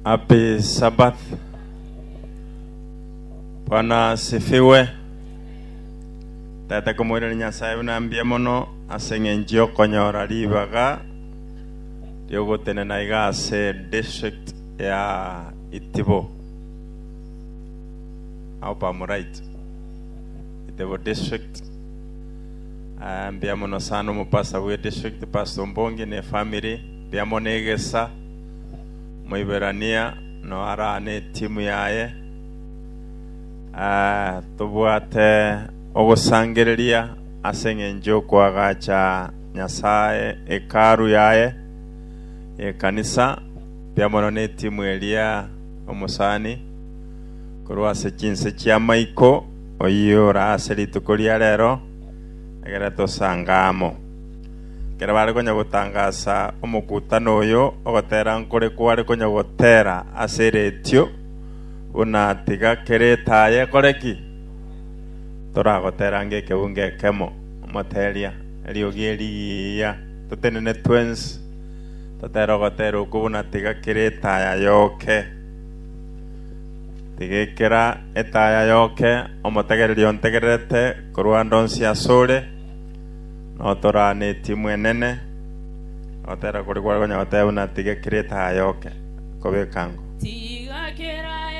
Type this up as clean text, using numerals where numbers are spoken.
Happy Sabbath. Bwana asifiwe. Tata komoirani Nyasaye buna mbuya mono ase eng'encho y'okonyora ribaga riogotenena iga ase district ya Itibo. I hope I'm right. Itibo district. Ah, mbuya mono sana omopastor bwe district Pastor Mbongi ne family mbuya mono egesa Moiberania no arane etimu yaye. Ah, tobwate ogosangereria ase eng'encho y'okoagacha Nyasae hekalu yaye y'ekanisa, mbuya mono netimu eria omosani korwa ase chinse chi'amaiko oyio ore ase rituko ria rero, egere tosange amo. Ekero bare konya gotangasa omokutano oyo, ogotera nkore kware konya gotera ase eretio, buna tiga kera etaya ekore ki? Toragotera ng'ekebungo ekemo, omoteria, eriogi erigiya, totenene twensi, totere ogotera okwo buna tiga kera etaya yoke. Tiga ekera etaya yoke, omotegereri ontegererete korwa ande onsi asore, Notorane etimu enene, ogotera koria kware konya goteba buna tiga kera etaya yoke, kobeka ango. Tiga kera.